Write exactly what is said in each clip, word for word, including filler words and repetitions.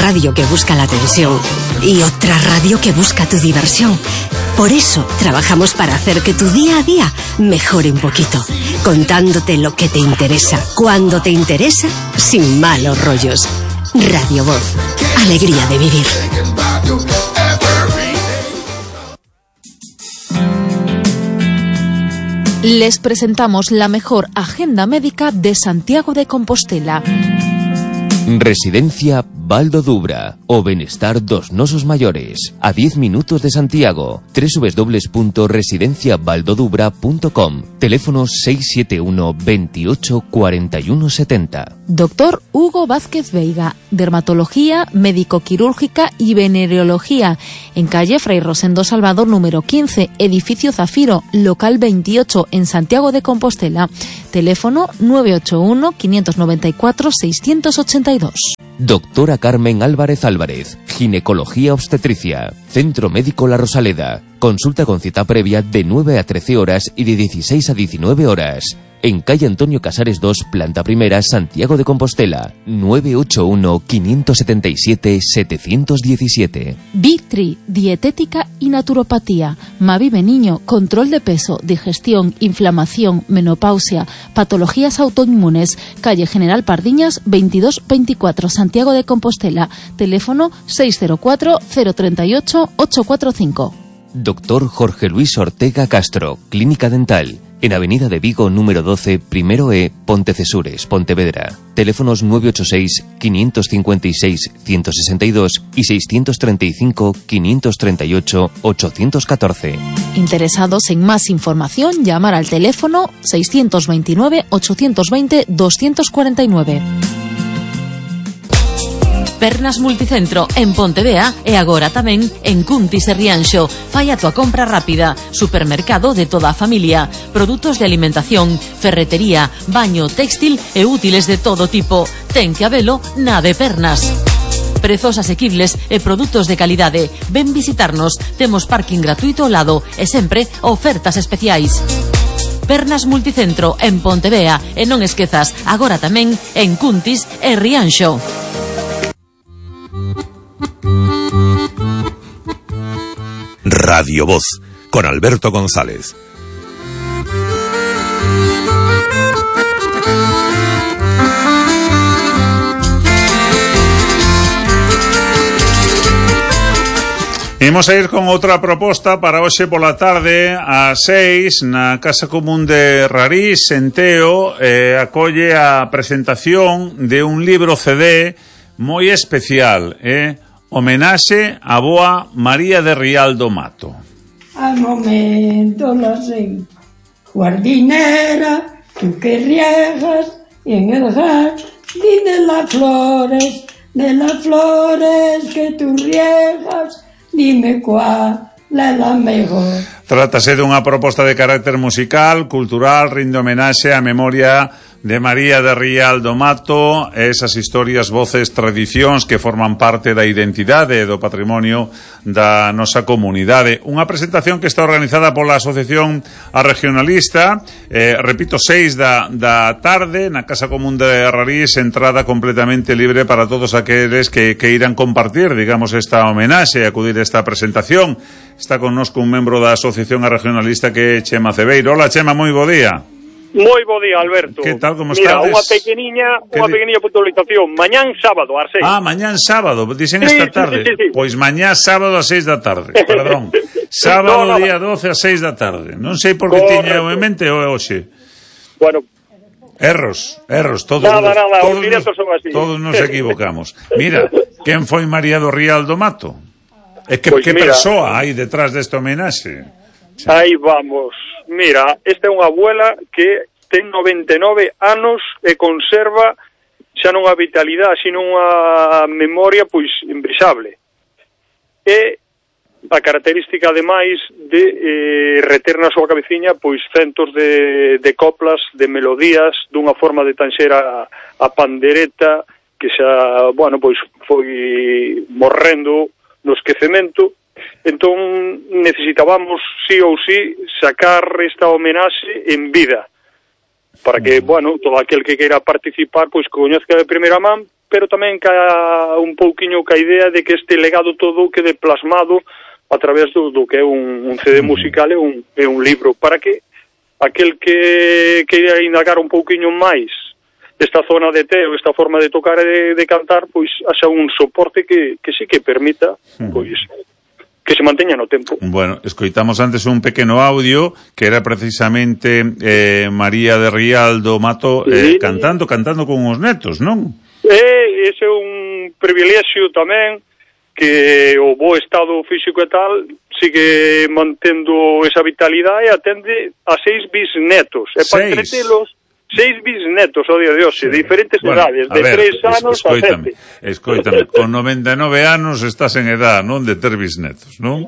radio que busca la atención y otra radio que busca tu diversión. Por eso trabajamos para hacer que tu día a día mejore un poquito, contándote lo que te interesa, cuando te interesa, sin malos rollos. Radio Voz, alegría de vivir. Les presentamos la mejor agenda médica de Santiago de Compostela. Residencia Val do Dubra, o benestar dos nosos maiores, a diez minutos de Santiago. doble u doble u doble u punto residencia valdodubra punto com. Teléfono seis siete uno, veintiocho, cuarenta y uno setenta. Doctor Hugo Vázquez Veiga, dermatología, médico-quirúrgica y venereología, en calle Fray Rosendo Salvador número quince, edificio Zafiro, local veintiocho, en Santiago de Compostela. Teléfono nueve ocho uno, quinientos noventa y cuatro, seiscientos ochenta y dos. Doctora Carmen Álvarez Álvarez, ginecología obstetricia, Centro Médico La Rosaleda. Consulta con cita previa de nueve a trece horas y de dieciséis a diecinueve horas. En calle Antonio Casares dos, planta primera, Santiago de Compostela. nueve ocho uno, quinientos setenta y siete, setecientos diecisiete. Vitri, dietética y naturopatía. Mavive Niño, control de peso, digestión, inflamación, menopausia, patologías autoinmunes. Calle General Pardiñas, veintidós veinticuatro, Santiago de Compostela. Teléfono seis cero cuatro, cero tres ocho, ocho cuatro cinco. Doctor Jorge Luis Ortega Castro, Clínica Dental. En Avenida de Vigo, número doce, primero E, Pontecesures, Pontevedra. Teléfonos nueve ocho seis, quinientos cincuenta y seis, ciento sesenta y dos y seiscientos treinta y cinco, quinientos treinta y ocho, ochocientos catorce. Interesados en más información, llamar al teléfono seiscientos veintinueve, ochocientos veinte, doscientos cuarenta y nueve. Pernas Multicentro en Pontevea e agora tamén en Cuntis e Rianxo. Fai a tua compra rápida. Supermercado de toda a familia. Produtos de alimentación, ferretería, baño, textil e útiles de todo tipo. Ten que habelo na de Pernas. Prezos asequibles e produtos de calidade. Ven visitarnos. Temos parking gratuito ao lado e sempre ofertas especiais. Pernas Multicentro en Pontevea e non esquezas, agora tamén en Cuntis e Rianxo. Radio Voz, con Alberto González. Imos a ir con outra proposta para hoxe pola tarde ás seis na Casa Común de Rarís, en Teo. eh, acolle a presentación de un libro C D moi especial, eh? Homenaxe a boa María de Rial do Mato. Al momento la sé, jardinera, tú que riegas, y en el jardín de las flores, de las flores que tú riegas, dime cuál es la mejor. Trátase dunha proposta de carácter musical, cultural, rinde homenaxe á memoria de María de Rial do Mato, esas historias, voces, tradicións que forman parte da identidade e do patrimonio da nosa comunidade. Unha presentación que está organizada pola Asociación A Regionalista, eh, repito, seis da, da tarde na Casa Común de Rarís, entrada completamente libre para todos aqueles que, que irán compartir, digamos, esta homenaxe e acudir a esta presentación. Está connosco un membro da Asociación A Regionalista que é Chema Cebeiro. Hola, Chema, moi bo día. Moi bo día, Alberto. Que tal, como Mira, estades? unha pequeniña, unha pequeniña puntualización. Mañán sábado ás seis. Ah, mañán sábado, dicen sí, esta tarde. Sí, sí, sí. Pois mañán sábado ás seis da tarde. Perdón. Sábado, no, no, día doce ás seis da tarde. Non sei por que tiña en mente o hoxe. Bueno, Erros, erros, todos, nada, nada, todos, os directos son así. Todos nos equivocamos. Mira, quen foi María do Rial do Mato? É que, pues que mira, persoa hai detrás deste homenaxe? Sí. Aí vamos. Mira, esta é unha abuela que ten noventa e nove anos e conserva xa non a vitalidade, sino unha memoria pois imbrixable. E a característica ademais de eh, reter na súa cabeciña pois centos de, de coplas, de melodías, dunha forma de tanxer a, a pandereta que xa, bueno, pois foi morrendo no esquecemento. Entón necesitábamos sí ou sí sacar esta homenaxe en vida, para que, bueno, todo aquel que queira participar, pois coñezca de primeira man, pero tamén ca un pouquiño ca idea de que este legado todo quede plasmado a través do, do que é un, un C D musical e un, e un libro, para que aquel que queira indagar un pouquiño máis desta zona de Teo, esta forma de tocar e de, de cantar, pois haxa un soporte que, que sí que permita, pois, que se manteña no tempo. Bueno, escoitamos antes un pequeno audio que era precisamente eh, María de Rialdo Mato eh, sí. cantando, cantando con os netos, non? E ese é un privilexio tamén, que o bo estado físico e tal sigue mantendo esa vitalidade e atende a seis bisnetos. E para entretelos, seis bisnetos ao día de hoxe, sí. de diferentes bueno, edades, de ver, tres anos a sete. Escoítame, con noventa e nove anos estás en edad, non, de ter bisnetos, non?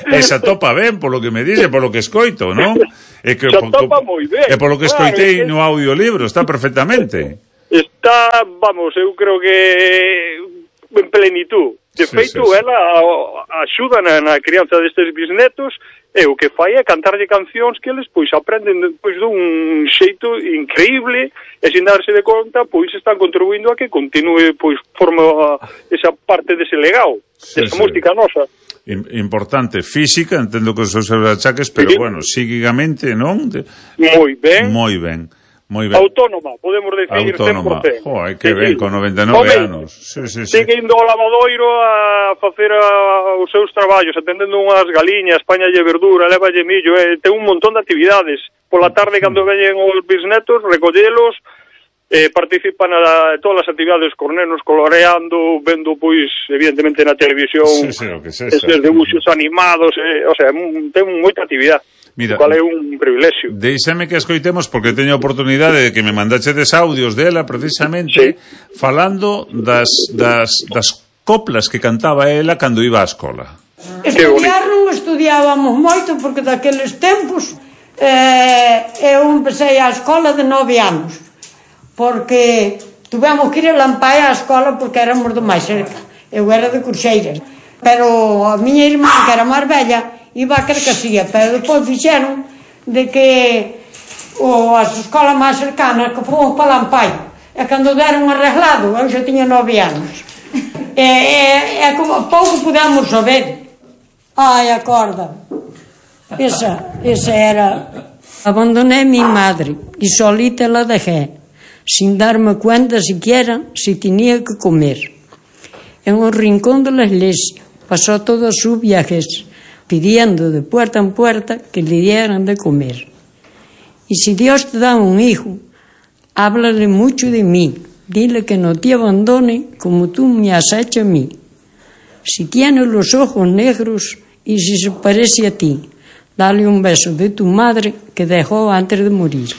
Esa topa ben, polo que me dice, polo que escoito, non? E que Esa topa moi ben. E polo que escoitei no audiolibro, está perfectamente. Está, vamos, eu creo que en plenitud. De sí, feito, sí, sí. ela axuda na, na crianza destes bisnetos e o que fai é cantarlle cancións que eles pois aprenden pois dun xeito increíble e sin darse de conta pois están contribuindo a que continue pois forma esa parte dese legado, sí, esa sí. música nosa. Importante, física, entendo que os seus achaques, pero sí. bueno, psíquicamente, non? De... Moi ben. Moi ben. Moi ben. Autónoma, podemos decir Autónoma. cen por cento. Joder, que sí, ben, sí. con noventa e nove anos. Sí, sí, sí. Sigue indo ao lavadoiro a facer a, os seus traballos, atendendo unhas galiñas, Españalle verdura, levalle millo, eh, ten un montón de actividades. Pola tarde, cando veñen os bisnetos, recollelos, eh, participan a todas as actividades cos nenos, coloreando, vendo, pois, evidentemente na televisión, sí, sí, o que sexa. Eses debuxos animados, eh, o sea, ten moita actividade. Mira, cual é un privilexio. Deixame que escoitemos, porque teño a oportunidade de que me mandachedes audios dela, precisamente, sí. falando das, das, das coplas que cantaba ela cando iba á escola. Estudiar non estudiábamos moito, porque daqueles tempos eh, eu empecé a escola de nove anos, porque tuvemos que ir a Lampae á escola porque éramos do máis cerca. Eu era de Curxeiras, pero a miña irmã, que era máis bella, iba a Carcasía, pero depois fixeron de que o, as escolas máis cercanas que fomos para Lampae, e cando deron arreglado eu xa tiña nove anos e, e, e como pouco pudemos saber. Ai, acorda, esa, esa era. Abandoné mi madre y solita la dejé, sin darme cuenta siquiera si tenía que comer. En un rincón de la iglesia pasó todos sus viajes, pidiendo de puerta en puerta que le dieran de comer. Y si Dios te da un hijo, háblale mucho de mí, dile que no te abandone como tú me has hecho a mí. Si tiene los ojos negros y si se parece a ti, dale un beso de tu madre que dejó antes de morir.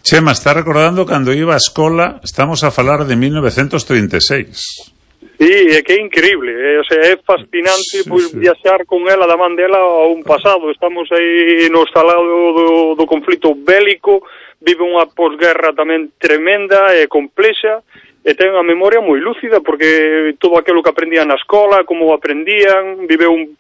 Chema, está recordando cando iba a escola, estamos a falar de mil novecientos treinta e seis. Sí, é que é increíble, eh? O sea, é fascinante sí, pois, sí. viaxar con ela da man dela a un pasado. Estamos aí no estalado do, do conflito bélico, vive unha posguerra tamén tremenda e complexa, e ten unha memoria moi lúcida, porque todo aquilo que aprendían na escola, como aprendían, vive un,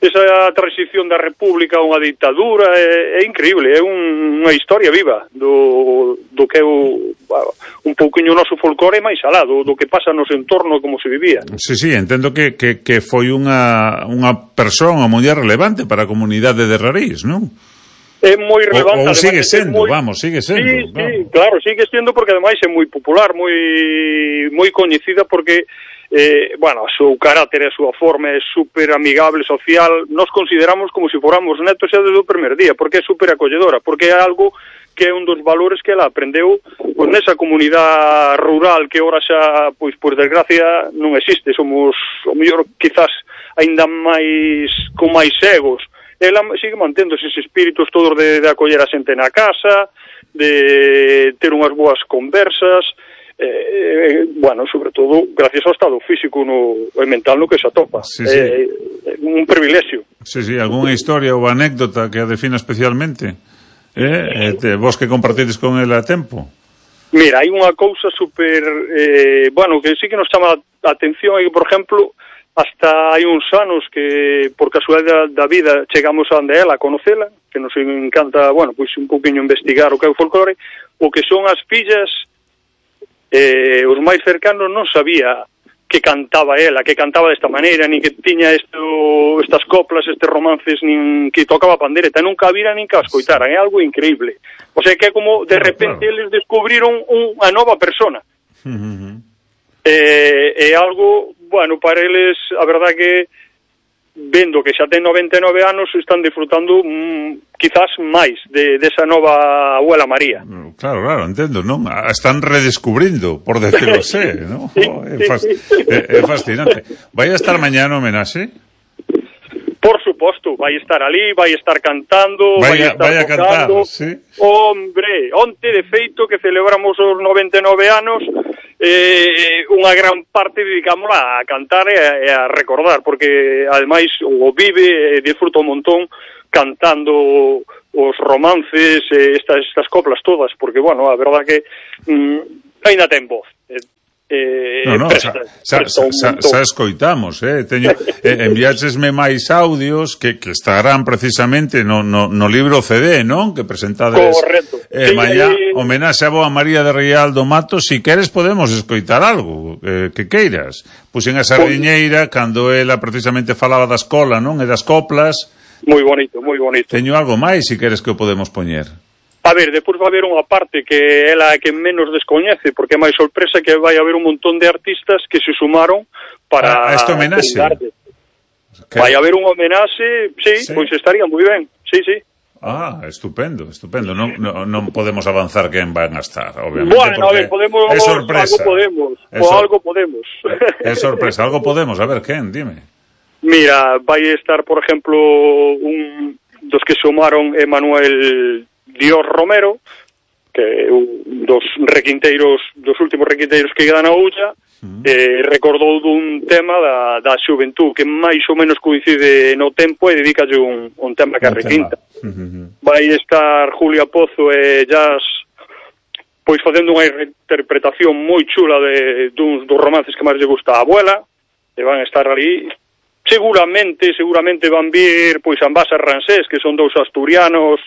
esa transición da república a unha ditadura, é, é increíble, é un, unha historia viva do, do que é o, un pouquiño o noso folclore máis alado, do que pasa no entorno, como se vivía. Sí, sí, entendo que, que, que foi unha, unha persona moi relevante para a comunidade de Rarís, non? É moi relevante. O, ou sigue sendo, moi... vamos, sigue sendo. Sí, vamos. sí, claro, sigue sendo, porque ademais é moi popular, moi moi coñecida, porque eh, bueno, o seu carácter e a súa forma é super amigable, social. Nos consideramos como se fóramos netos xa desde o primer día, porque é super acolledora, porque é algo que é un dos valores que ela aprendeu pois nesa comunidade rural que ora xa, pois por desgracia, non existe. Somos, o mellor, quizás aínda máis con máis egos. Ela sigue mantendo eses espíritus todos de, de acoller a xente na casa, de ter unhas boas conversas, eh, bueno, sobre todo gracias ao estado físico no, e mental no que se atopa. Sí, sí. Eh, un privilexio. Sí, sí, algunha historia ou anécdota que a defina especialmente? Eh, eh, vos que compartides con ela a tempo? Mira, hai unha cousa super, eh, bueno, que sí que nos chama a atención, é que, por exemplo, hasta hai uns anos que, por casualidade da vida, chegamos a onde ela, a conocela, que nos encanta, bueno, pois un pouquinho investigar o que é o folclore, o que son as fillas eh, os máis cercanos non sabía que cantaba ela, que cantaba desta maneira, ni que tiña esto, estas coplas, estes romances, nin que tocaba pandereta, nunca vira nin que a escoitaran, é algo increíble. O sea, que é como, de repente, claro, eles descubriron unha nova persona. Uh-huh. É, é algo, bueno, para eles, a verdad que, vendo que xa ten noventa e nove anos, están disfrutando mm, quizás máis de, de esa nova abuela María. Claro, claro, entendo, non? Están redescubrindo, por decirlo así, ¿no? Sí, oh, é, fas, é, é fascinante. Vai a estar mañá no homenaxe? Por suposto, vai estar ali, vai estar cantando, vai, vai estar vai a tocando. Cantar, sí? Hombre, onte de feito que celebramos os noventa e nove anos, eh, unha gran parte dedicámola a cantar e a, e a recordar, porque ademais o vive e disfruta un montón cantando os romances, eh, estas, estas coplas todas, porque, bueno, a verdad que mm, ainda ten voz. Eh, Eh, no, no, presta, xa, xa, xa, xa escoitamos, eh, teño, eh, enviáchesme máis audios que, que estarán precisamente no, no, no libro C D, non? Que presentades eh, sí, mañá, eh, homenaxe a Boa María de Rial do Mato. Si queres podemos escoitar algo eh, que queiras. Puxen a sardiñeira cando ela precisamente falaba da escola, non? E das coplas. Moi bonito, moi bonito. Teño algo máis, si queres que o podemos poñer. A ver, depois vai haber unha parte que ela é que menos descoñece, porque é máis sorpresa que vai haber un montón de artistas que se sumaron para... A este homenaxe? Vai haber un homenaxe, sí, sí, pois estaría moi ben, sí, sí. Ah, estupendo, estupendo. Non, non, non podemos avanzar quen van a estar, obviamente. Bueno, a ver, podemos... É sorpresa. Algo podemos, é o sor... algo podemos. É sorpresa, algo podemos. A ver, quen, dime. Mira, vai estar, por exemplo, un dos que sumaron Emanuel Dios Romero, que é un dos requinteiros, dos últimos requinteiros que quedan na Ulla, uh-huh. eh, recordou dun tema da, da xuventud que máis ou menos coincide no tempo e dedicalle un, un tema que a requinta. Uh-huh. Vai estar Julia Pozo e Jazz pois facendo unha interpretación moi chula de duns dos romances que máis lle gusta a abuela, e van estar ali. Seguramente, seguramente van vir pois Ambás e Ransés, que son dous asturianos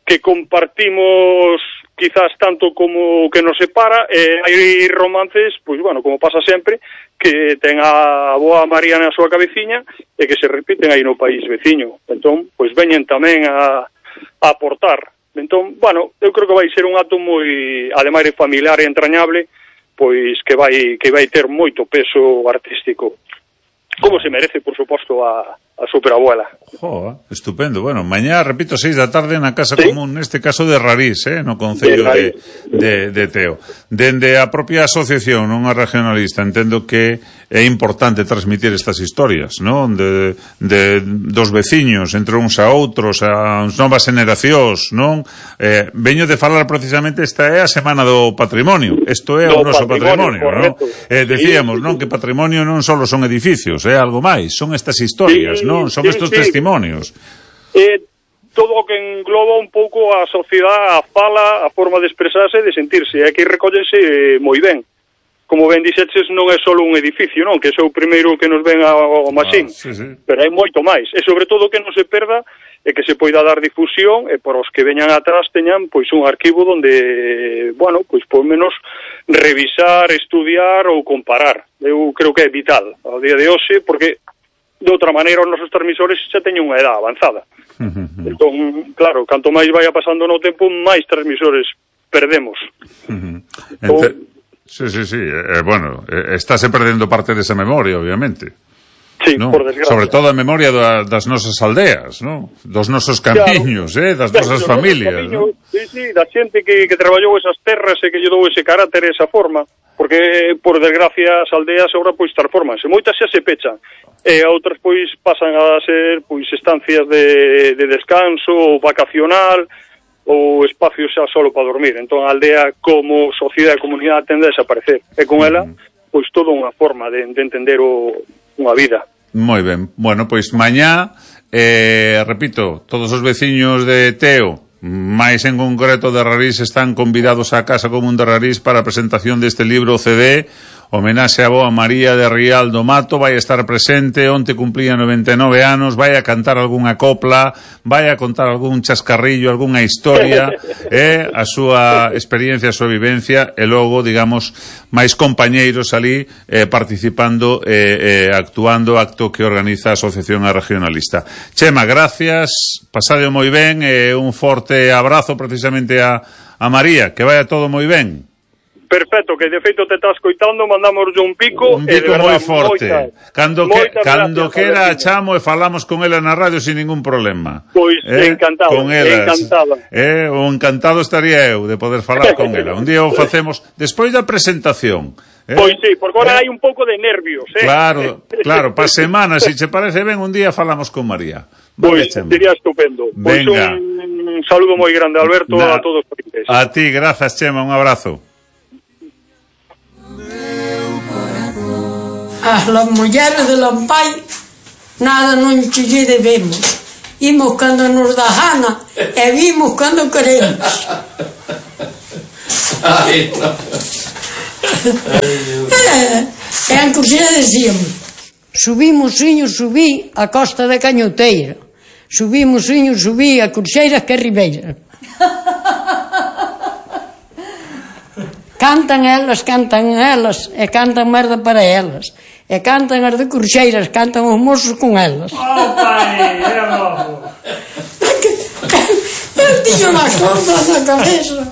que compartimos quizás tanto como que nos separa, e hai romances, pois bueno, como pasa sempre, que ten a Boa María na súa cabeciña e que se repiten aí no país veciño. Entón, pois veñen tamén a, a aportar. Entón, bueno, eu creo que vai ser un acto moi, ademais de familiar e entrañable, pois que vai que vai ter moito peso artístico. Como se merece, por suposto, a, a superabuela. Joa, estupendo. Bueno, mañá, repito, seis da tarde na Casa ¿Sí? Común, neste caso de Rarís, eh, no Concello de, de, de Teo. Dende a propia asociación, non a regionalista, entendo que é importante transmitir estas historias, non? De, de, dos veciños, entre uns a outros, as novas generacións, non? Eh, veño de falar precisamente, esta é a Semana do Patrimonio. Isto é do o noso patrimonio, patrimonio non? Eh, decíamos, sí, non? Que patrimonio non só son edificios, é algo máis, son estas historias, sí, non? Son sí, estes sí. testimonios. Eh, todo o que engloba un pouco a sociedade, a fala, a forma de expresarse e de sentirse, é que recóllense moi ben. Como ben dixeches, non é só un edificio, non? Que é o primeiro que nos ven ao machín, ah, sí, sí. Pero hai moito máis. E sobre todo que non se perda e que se poida dar difusión e por os que veñan atrás teñan pois un arquivo onde, bueno, pois por menos revisar, estudiar ou comparar. Eu creo que é vital ao día de hoxe, porque de outra maneira os nosos transmisores xa teñen unha edad avanzada. Uh-huh. Entón, claro, canto máis vaya pasando no tempo, máis transmisores perdemos. Uh-huh. Ente... O... Sí, sí, sí. Eh, bueno, eh, estáse perdendo parte desa memoria, obviamente. Sí, ¿no? Por desgracia. Sobre todo a memoria da, das nosas aldeas, ¿no? Dos nosos camiños, claro. eh, das nosas familias, ¿no? Sí, sí, da xente que, que traballou esas terras e que lle dou ese carácter, esa forma, porque, por desgracia, as aldeas agora, pois, transformanse. Moitas xa se pechan, e outras, pois, pasan a ser, pois, estancias de, de descanso ou vacacional, ou espacios xa solo para dormir. Entón a aldea como sociedade e comunidade tende a desaparecer, e con ela pois toda unha forma de, de entender o, unha vida. Moi ben, bueno, pois mañá eh, repito, todos os veciños de Teo, máis en concreto de Rarís, están convidados á Casa Común de Rarís para a presentación deste libro C D, homenaxe a boa María de Rial do Mato, vai estar presente, onte cumplía noventa e nove anos, vai a cantar algunha copla, vai a contar algún chascarrillo, algunha historia, e a súa experiencia, a súa vivencia, e logo, digamos, máis compañeiros ali eh, participando e eh, eh, actuando acto que organiza a Asociación Regionalista. Chema, gracias, pasade moi ben, e eh, un forte abrazo precisamente a, a María, que vaya todo moi ben. Perfecto, que de feito te estás coitando, mandamos un pico, un pico moi forte. Moita, cando que, cando quera a chamo e falamos con ela na radio sin ningún problema. Pois eh, encantado, con elas, encantado. Eh, o encantado estaría eu de poder falar con ela. Un día o facemos despois da presentación. Eh? Pois sí, porque agora eh? hai un pouco de nervios, eh? Claro, claro, pa semana, se che parece ben, un día falamos con María. Pois pues, sería estupendo. Pois pues un saludo moi grande, Alberto, Na, a todos os clientes. A ti, grazas, Chema, un abrazo. As las mulleres de Lampai nada non che debemos. Imos cando nos dá gana e vimos cando queremos. Ai, no. E en Corsera decíamos: subimos, siño, subí a Costa da Cañoteira, subimos, siño, subí a Corseiras que Ribeira. Cantan elas, cantan elas, e cantan merda para elas. E cantan as de Corseiras, cantan os mozos con elas. Oh, pai, é logo. Eu tiño nas cordas na cabeza.